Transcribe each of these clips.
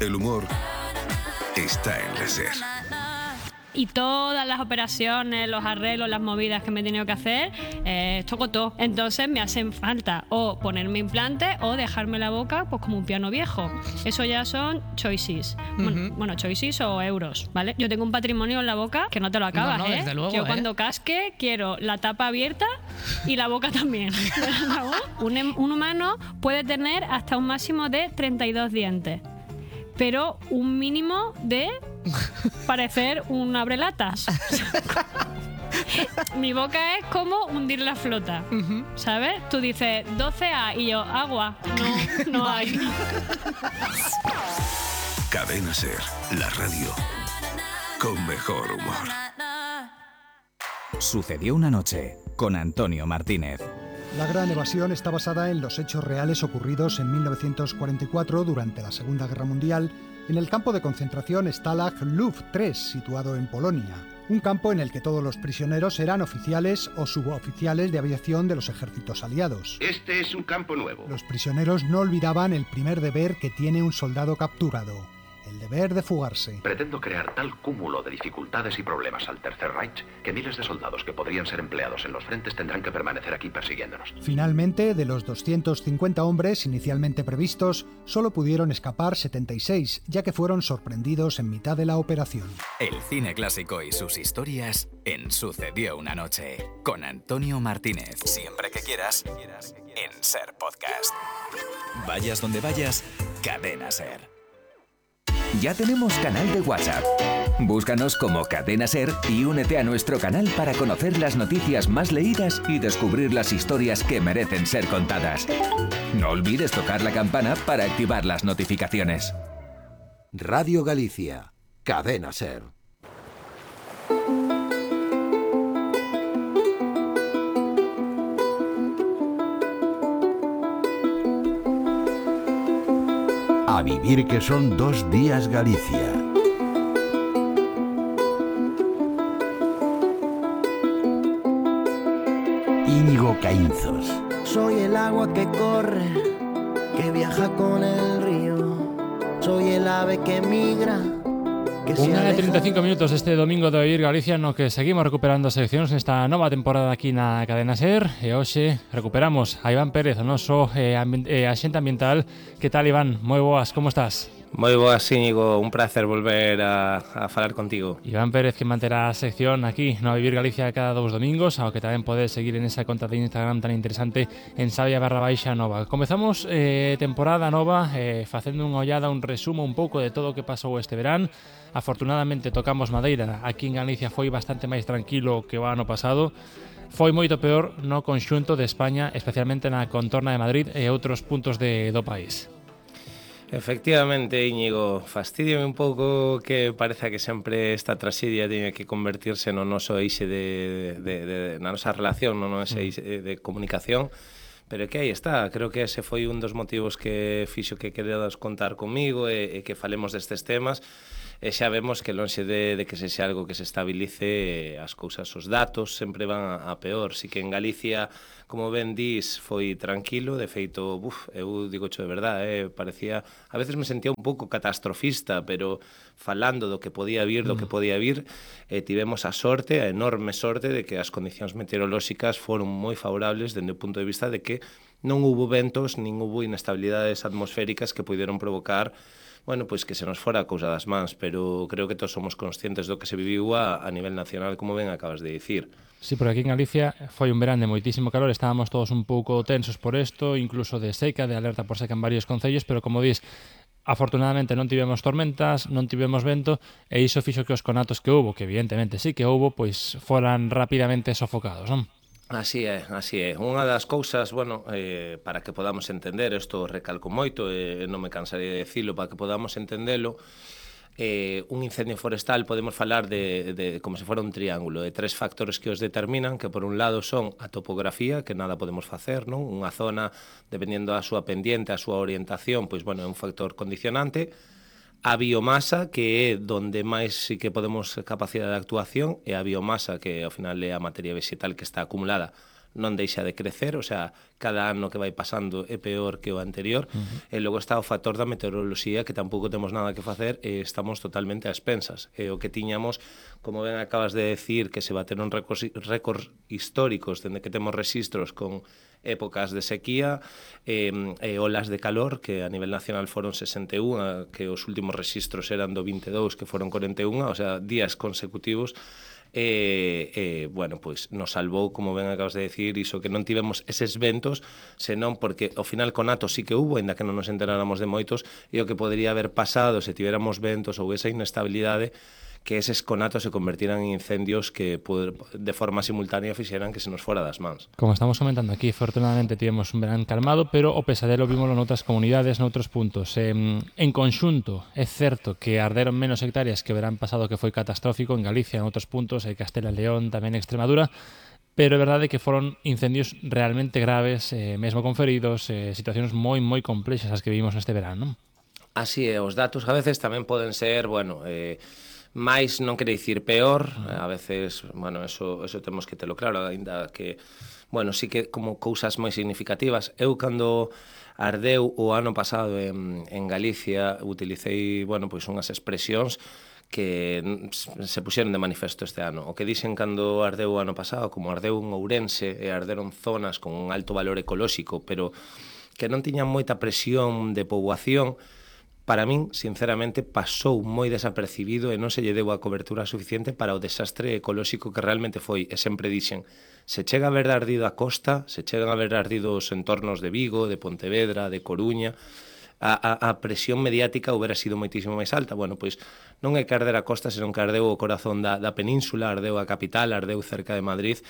El humor está en la SER. Y todas las operaciones, los arreglos, las movidas que me he tenido que hacer, toco todo. Entonces me hacen falta o ponerme implante o dejarme la boca pues como un piano viejo. Eso ya son choices. Bueno, choices o euros, ¿vale? Yo tengo un patrimonio en la boca que no te lo acabas, no, desde luego, Yo cuando casque quiero la tapa abierta y la boca también. Un humano puede tener hasta un máximo de 32 dientes. Pero un mínimo de parecer un abrelatas. Mi boca es como hundir la flota, ¿sabes? Tú dices 12A y yo, agua. No hay. Cadena SER, la radio con mejor humor. Sucedió una noche con Antonio Martínez. La Gran Evasión está basada en los hechos reales ocurridos en 1944 durante la Segunda Guerra Mundial en el campo de concentración Stalag Luft 3, situado en Polonia. Un campo en el que todos los prisioneros eran oficiales o suboficiales de aviación de los ejércitos aliados. Este es un campo nuevo. Los prisioneros no olvidaban el primer deber que tiene un soldado capturado: el deber de fugarse. Pretendo crear tal cúmulo de dificultades y problemas al Tercer Reich que miles de soldados que podrían ser empleados en los frentes tendrán que permanecer aquí persiguiéndonos. Finalmente, de los 250 hombres inicialmente previstos, solo pudieron escapar 76, ya que fueron sorprendidos en mitad de la operación. El cine clásico y sus historias en Sucedió una noche con Antonio Martínez. Siempre que quieras, en SER Podcast. Vayas donde vayas, Cadena SER. Ya tenemos canal de WhatsApp. Búscanos como Cadena SER y únete a nuestro canal para conocer las noticias más leídas y descubrir las historias que merecen ser contadas. No olvides tocar la campana para activar las notificaciones. Radio Galicia, Cadena SER. A vivir que son 2 días Galicia. Íñigo Caínzos. Soy el agua que corre, que viaja con el río. Soy el ave que migra. Unha de 35 minutos este domingo de Vivir Galicia no que seguimos recuperando seccións nesta nova temporada aquí na Cadena SER e hoxe recuperamos a Iván Pérez, o noso axente ambiental. Que tal, Iván? Moi boas, como estás? Moi boas, Íñigo, un placer volver a falar contigo. Iván Pérez, que manterá a sección aquí no Vivir Galicia cada 2 domingos, ao que tamén podes seguir en esa conta de Instagram tan interesante en Sabia_Nova. Comezamos temporada nova facendo unha ollada, un resumo un pouco de todo o que pasou este verán. Afortunadamente tocamos madeira, aquí en Galicia foi bastante máis tranquilo que o ano pasado. Foi moito peor no conxunto de España, especialmente na contorna de Madrid e outros puntos do país. Efectivamente, Íñigo, fastidiame un pouco que pareza que sempre esta traxedia teña que convertirse no noso eixe na nosa relación, no noso eixe de comunicación, pero que aí está, creo que ese foi un dos motivos que fixo que queredas contar comigo e que falemos destes temas. E xa vemos que lonxe de que sexa algo que se estabilice, as cousas, os datos sempre van a peor. Si que en Galicia, como ben dis, foi tranquilo, de feito, eu digo de verdade, parecía, a veces me sentía un pouco catastrofista, pero falando do que podía vir, tivemos a sorte, a enorme sorte, de que as condicións meteorolóxicas foron moi favorables dende o punto de vista de que non hubo ventos, nin hubo inestabilidades atmosféricas que puderon provocar pois que se nos fora a cousa das mans, pero creo que todos somos conscientes do que se viviu a nivel nacional, como ben acabas de dicir. Sí, porque aquí en Galicia foi un verán de moitísimo calor, estábamos todos un pouco tensos por isto, incluso de seca, de alerta por seca en varios concellos, pero como dis, afortunadamente non tivemos tormentas, non tivemos vento, e iso fixo que os conatos que houbo, que evidentemente sí que houbo, pois foran rapidamente sofocados, non? Así é. Unha das cousas, para que podamos entender, isto recalco moito, non me cansaré de dicilo, para que podamos entendelo, un incendio forestal podemos falar de como se fora un triángulo, de 3 factores que os determinan, que por un lado son a topografía, que nada podemos facer, non? Unha zona, dependendo da súa pendiente, a súa orientación, é un factor condicionante. A biomasa, que é donde máis sí que podemos capacidade de actuación, e a biomasa, que ao final é a materia vegetal que está acumulada non deixa de crecer, o sea, cada ano que vai pasando é peor que o anterior, e logo está o factor da meteoroloxía, que tampouco temos nada que facer, e estamos totalmente a expensas. E o que tiñamos, como ben acabas de decir, que se bateron récords históricos dende que temos registros con épocas de sequía e olas de calor, que a nivel nacional foron 61, que os últimos registros eran do 22, que foron 41, o sea, días consecutivos. Bueno, pois nos salvou, como ben acabas de decir, iso que non tivemos eses ventos, senón porque ao final con atos sí que hubo, ainda que non nos enteráramos de moitos, e o que podería haber pasado se tivéramos ventos ou esa inestabilidade, que eses conatos se convertiran en incendios que de forma simultánea fixeran que se nos fora das mans. Como estamos comentando aquí, afortunadamente tivemos un verán calmado, pero o pesadelo vímoslo noutras comunidades, noutros puntos. En conxunto, é certo que arderon menos hectáreas que o verán pasado, que foi catastrófico en Galicia, en outros puntos, en Castela e León, tamén en Extremadura, pero é verdade que foron incendios realmente graves, mesmo con feridos, situacións moi complexas as que vivimos neste verán, non? Así é, os datos a veces tamén poden ser, bueno, máis non quere dicir peor, a veces, bueno, eso temos que telo claro, ainda que, bueno, sí que como cousas moi significativas. Eu cando ardeu o ano pasado en Galicia utilicei, bueno, pois unhas expresións que se puxeron de manifesto este ano. O que dixen cando ardeu o ano pasado, como ardeu en Ourense e arderon zonas con un alto valor ecolóxico, pero que non tiñan moita presión de poboación, para min, sinceramente, pasou moi desapercibido e non se lle deu a cobertura suficiente para o desastre ecolóxico que realmente foi. E sempre dixen, se chega a ver ardido a costa, se chegan a ver ardido os entornos de Vigo, de Pontevedra, de Coruña, a presión mediática houbera sido moitísimo máis alta. Bueno, pois non é que arder a costa, senón que ardeu o corazón da península, ardeu a capital, ardeu cerca de Madrid,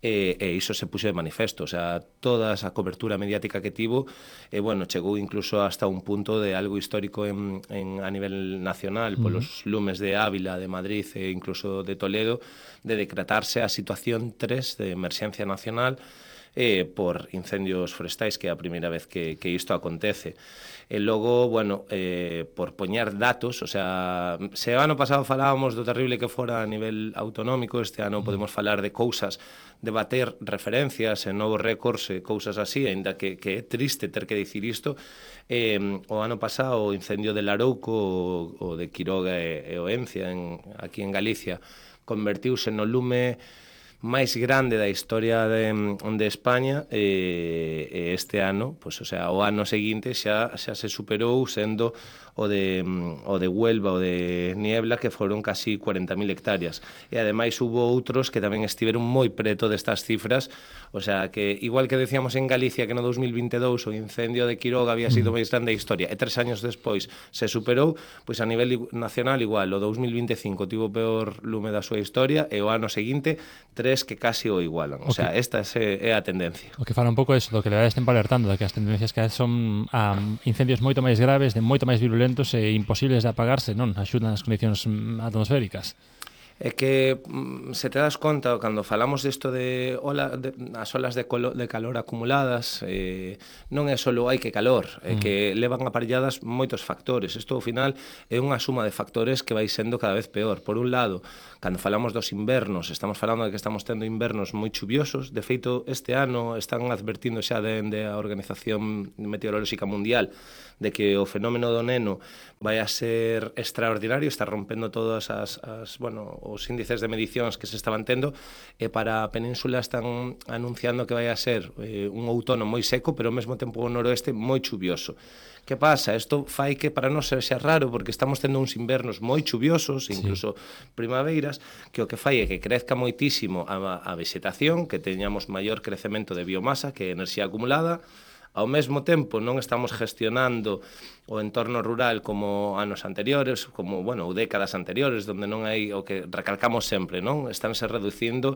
e iso se puxo de manifesto. O sea, toda esa cobertura mediática que tivo, bueno, chegou incluso hasta un punto de algo histórico a nivel nacional, polos lumes de Ávila, de Madrid e incluso de Toledo, de decretarse a situación 3 de emerxencia nacional por incendios forestais, que é a primeira vez que isto acontece. E logo, bueno, por poñer datos, o sea, se o ano pasado falábamos do terrible que fora a nivel autonómico, este ano podemos falar de cousas, de bater referencias e novos récords e cousas así, ainda que é triste ter que dicir isto. O ano pasado o incendio de Larouco, o de Quiroga e Oencia, aquí en Galicia, convertiuse no lume máis grande da historia de España, e este ano, pois, o sea, o ano seguinte xa se superou, sendo o de Huelva, o de Niebla, que foron casi 40.000 hectáreas. E ademais hubo outros que tamén estiveron moi preto destas cifras, o sea, que igual que decíamos en Galicia que no 2022 o incendio de Quiroga había sido máis grande da historia, e 3 años despois se superou, pois a nivel nacional igual, o 2025 tivo o peor lume da súa historia, e o ano seguinte 3 que casi o igualan. O sea, esta é a tendencia. O que fala un pouco iso, do que le dades tempo alertando, de que as tendencias que son incendios moito máis graves, de moito máis virulentos e imposibles de apagarse, non? Axudan as condicións atmosféricas. É que se te das conta, cando falamos disto de as olas de calor acumuladas, non é só hai que calor, é que levan aparelladas moitos factores. Isto, ao final, é unha suma de factores que vai sendo cada vez peor. Por un lado, cando falamos dos invernos, estamos falando de que estamos tendo invernos moi chuviosos. De feito, este ano están advertindo xa dende a Organización Meteorolóxica Mundial de que o fenómeno do Neno vai a ser extraordinario, está rompendo todas os índices de medicións que se estaban tendo, e para a península están anunciando que vai a ser un outono moi seco, pero ao mesmo tempo o noroeste moi chuvioso. Que pasa? Isto fai que para nós sexa raro, porque estamos tendo uns invernos moi chuviosos, incluso primaveras, que o que fai é que crezca moitísimo a vegetación, que teñamos maior crecemento de biomasa, que é enerxía acumulada. Ao mesmo tempo, non estamos gestionando o entorno rural como anos anteriores, como, bueno, décadas anteriores, onde non hai o que recalcamos sempre, non? Estánse reducindo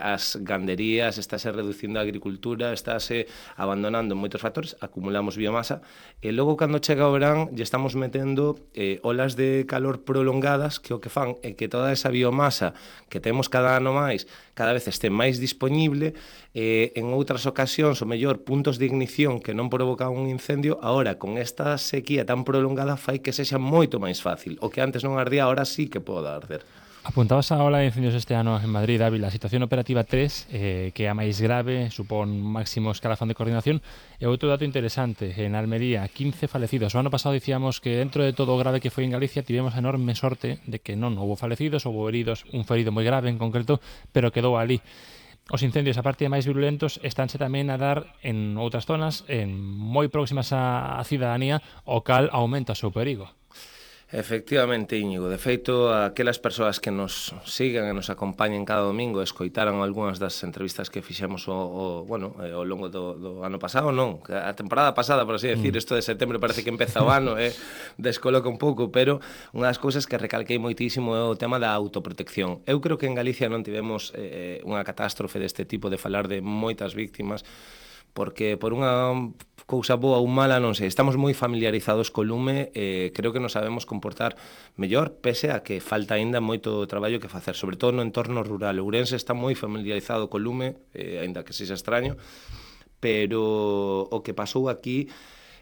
as ganderías, estáse reducindo a agricultura, estáse abandonando moitos factores, acumulamos biomasa, e logo, cando chega o verán, lle estamos metendo olas de calor prolongadas, que o que fan é que toda esa biomasa que temos cada ano máis, cada vez este máis disponible, en outras ocasións, o mellor, puntos de ignición que non provocan un incendio, agora, con esta sequía tan prolongada, fai que sexa moito máis fácil. O que antes non ardía, agora sí que pode arder. Apuntabas a ola de incendios este ano en Madrid, Ávila, a situación operativa 3, que é a máis grave, supón máximo escalafón de coordinación, e outro dato interesante, en Almería, 15 falecidos. O ano pasado dicíamos que dentro de todo o grave que foi en Galicia, tivemos a enorme sorte de que non houve falecidos, houve heridos, un ferido moi grave en concreto, pero quedou ali. Os incendios, a parte de máis virulentos, estánse tamén a dar en outras zonas, en moi próximas á cidadanía, o cal aumenta o seu perigo. Efectivamente, Íñigo. De feito, aquelas persoas que nos sigan e nos acompañen cada domingo escoitaran algunhas das entrevistas que fixemos ao longo do ano pasado, non, a temporada pasada, por así decir, isto de setembro parece que empeza o ano, descoloca un pouco, pero unha das cousas que recalquei moitísimo é o tema da autoprotección. Eu creo que en Galicia non tivemos unha catástrofe deste tipo, de falar de moitas víctimas, porque por unha cousa boa ou mala, non sei, estamos moi familiarizados co lume, creo que nos sabemos comportar mellor, pese a que falta aínda moito traballo que facer, sobre todo no entorno rural. Ourense está moi familiarizado co lume, aínda que sexa extraño, pero o que pasou aquí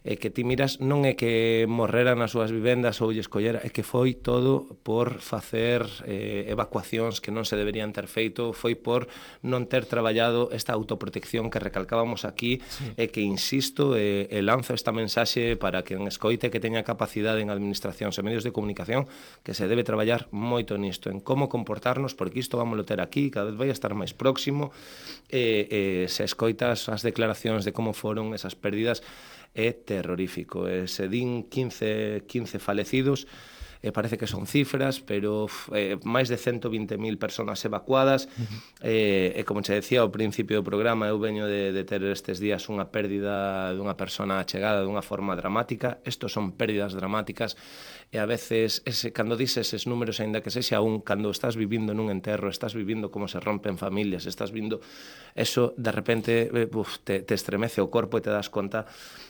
é que ti miras, non é que morreran nas súas vivendas ou lles collera, é que foi todo por facer evacuacións que non se deberían ter feito, foi por non ter traballado esta autoprotección que recalcábamos aquí, e que, insisto, lanzo esta mensaxe para que en escoite que teña capacidade en administracións e medios de comunicación, que se debe traballar moito nisto, en como comportarnos, porque isto vamos ter aquí, cada vez vai a estar máis próximo, se escoitas as declaracións de como foron esas pérdidas, é terrorífico. Se din 15 falecidos, parece que son cifras, pero máis de 120.000 personas evacuadas, e como se decía ao principio do programa, eu veño de ter estes días unha pérdida dunha persona achegada dunha forma dramática. Estos son pérdidas dramáticas, e a veces, cando dices eses números, aínda que sexa cando estás vivindo nun enterro, estás vivindo como se rompen familias, estás vindo eso, de repente te estremece o corpo e te das conta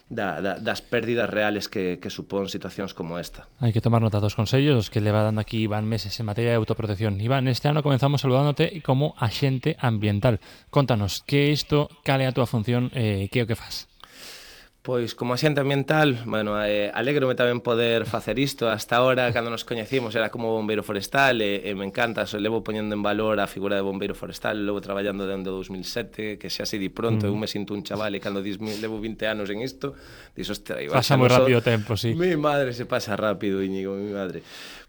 das pérdidas reales que supón situacións como esta. Hai que tomar nota dos consellos que leva dando aquí Iván meses en materia de autoprotección. Iván, este ano comenzamos saludándote como axente ambiental. Contanos, que é isto, cal é a túa función, que é o que faz? Pois, como axente ambiental, alégrome tamén poder facer isto. Hasta ahora, cando nos coñecimos, era como bombeiro forestal, e me encanta, levo poñendo en valor a figura de bombeiro forestal, levo traballando dende 2007, que xa se di pronto, eu me sinto un chaval, e cando dis, levo 20 anos en isto, dis, ostra, pasa moi rápido o tempo, sí. Mi madre, se pasa rápido, Íñigo, mi madre.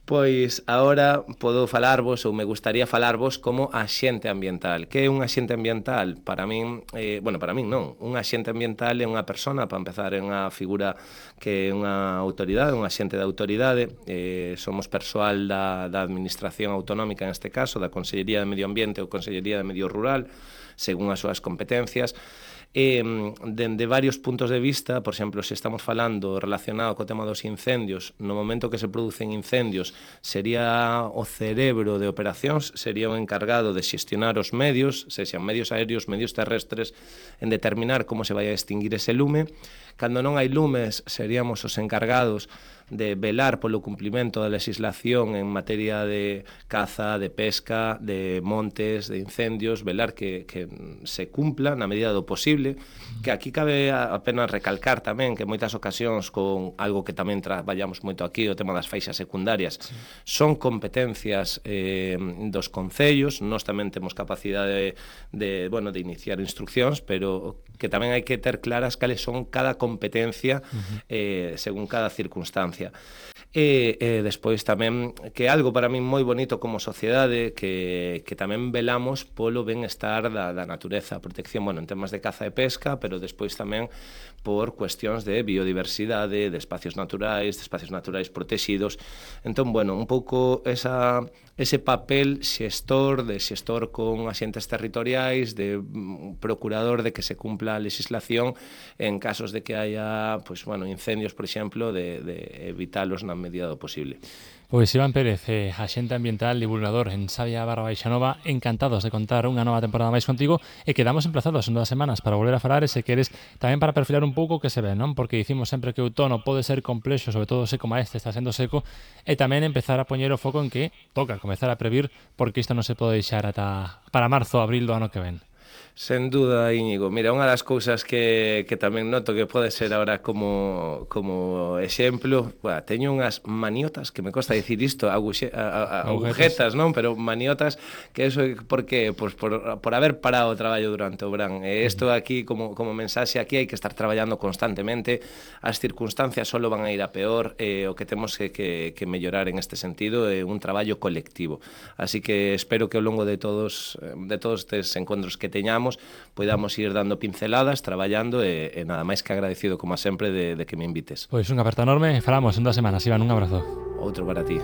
Pois agora podo falarvos, ou me gustaría falarvos, como axente ambiental. Que é un axente ambiental? Para min, para min non. Un axente ambiental é unha persona, para empezar, é unha figura que é unha autoridade, un axente de autoridade. Somos persoal da Administración Autonómica, neste caso, da Consellería de Medio Ambiente ou Consellería de Medio Rural, según as súas competencias. Dende varios puntos de vista, por exemplo, se estamos falando relacionado co tema dos incendios, no momento que se producen incendios, sería o cerebro de operacións, sería o encargado de xestionar os medios, sexan medios aéreos, medios terrestres, en determinar como se vai a extinguir ese lume. Cando non hai lumes, seríamos os encargados de velar polo cumplimento da legislación en materia de caza, de pesca, de montes, de incendios, velar que se cumpla na medida do posible, que aquí cabe apenas recalcar tamén que en moitas ocasións, con algo que tamén traballamos moito aquí, o tema das faixas secundarias, son competencias dos concellos. Nós tamén temos capacidade de iniciar instruccións, pero que tamén hai que ter claras cales son cada competencia según cada circunstancia. E despois tamén, que é algo para min moi bonito como sociedade, que tamén velamos polo benestar da natureza, a protección, en temas de caza e pesca, pero despois tamén por cuestións de biodiversidade, de espacios naturais protegidos. Entón, un pouco ese papel xestor con axentes territoriais, de procurador de que se cumpla a legislación en casos de que haya incendios, por exemplo, de evitalos na medida do posible. Pois Iván Pérez, axente ambiental divulgador en Sabia / Baixanova, encantados de contar unha nova temporada máis contigo, e quedamos emplazados en 2 semanas para volver a falar, e se queres tamén para perfilar un pouco que se ve, non? Porque dicimos sempre que o outono pode ser complexo, sobre todo seco como este está sendo seco, e tamén empezar a poñer o foco en que toca comezar a previr, porque isto non se pode deixar ata para marzo, abril do ano que ven. Sen duda, Íñigo. Mira, unha das cousas que tamén noto que pode ser ahora como exemplo, teño unhas maniotas, que me costa dicir isto, agujetas, non? Pero maniotas, que eso porque pues, por haber parado o traballo durante o verán. Isto aquí, como mensaxe, aquí hai que estar traballando constantemente, as circunstancias solo van a ir a peor, o que temos que mellorar en este sentido é un traballo colectivo. Así que espero que ao longo de todos estes encontros que teñamos podamos ir dando pinceladas, traballando e nada máis que agradecido como sempre de que me invites. Pois unha aperta enorme, falamos en 2 semanas, Iván, un abrazo. Outro para ti.